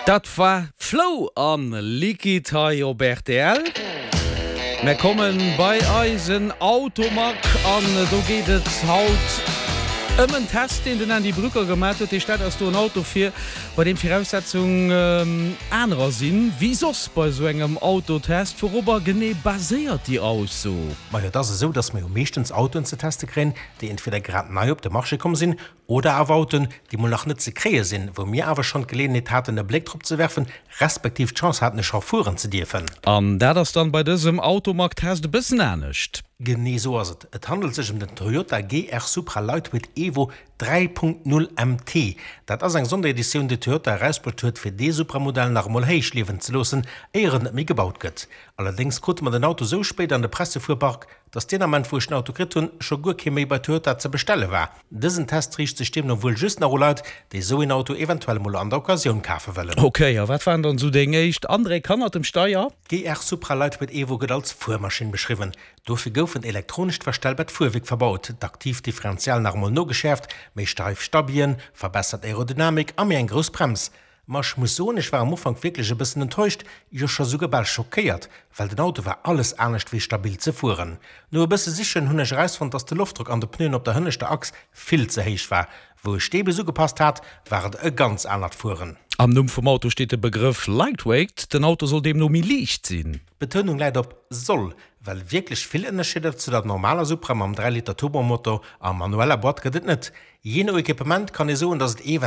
Dat war Flow an Liquid hei op rtl. Mär kommen bei eisen Automag an do geet et haut ëm en Test deen den Andy Brücker gemat huet. Dee stellt eis do en Auto vir bei deem d'Viraussetzung anerer sinn wéi soss bei esou engem Autotest. Wourobber genee baséiert déi Ausso? Majo et ass esou, dass mer jo meeschtens Autoen ze teste kréien, déi entweder grad nei op de Marché komm sinn Oder awer Autoen, déi mol nach net ze kréie sinn, wou mir awer schonn d'Geleeënheet haten e Bléck drop ze werfen, respektiv d'Chance haten e scho fueren ze dierfen. An dat ass dann bei dësem Automag-Test e bëssen anescht. Genee esou ass et. Et handelt sech ëm den Toyota GR Supra Lightweight Evo 3.0 MT. Dat ass eng Sondereditioun, déi Toyota erausbruecht huet, fir dee Supra-Modell nach emol héich liewen ze loossen, éier en net méi gebaut gëtt. Allerdéngs krute mer den Auto sou spéit an de Pressefuerpark, dass deen Ament wou ech den Auto kritt hunn, scho guer kee méi bei Toyota ze bestelle war. Dësen Test riicht sech deemno wuel just nach u Leit, déi esou een Auto eventuell emol an der Occasioun kafe wëllen. Ok, a wat waren dann esou deng éischt Andréck hannert dem Steier? D'GR Supra Lightweight Evo gëtt als Fuermaschinn beschriwwen. Dofir gouf en elektronescht verstellbart Fuerwierk verbaut, d'aktiivt Differential nach emol nogeschäerft, méi steif Stabien, verbessert Aerodynamik a méi eng grouss Brems. Ma ech muss soen, ech war am Ufank wierklech e bëssen enttäuscht, jo scho souguer bal schockéiert, well den Auto war alles anescht wéi stabil ze fueren. No e bësse sichen hunn ech erausfonnt, dass de Loftdrock an de Pneuen op der hënneschter Achs vill ze héich war. Wou ech dee bis ugepasst hat, war et e ganz anert Fueren. Am Numm vum Auto steet de Begrëff Lightweight, den Auto soll deemno méi liicht sinn. D'Betounung läit op soll, well wierklech vill Ënnerscheeder zu der normaler Supra mam 3 Liter Turbomotor a manueller Boîte gëtt et net. Jee no Equipement kann ee soen, dass et ev.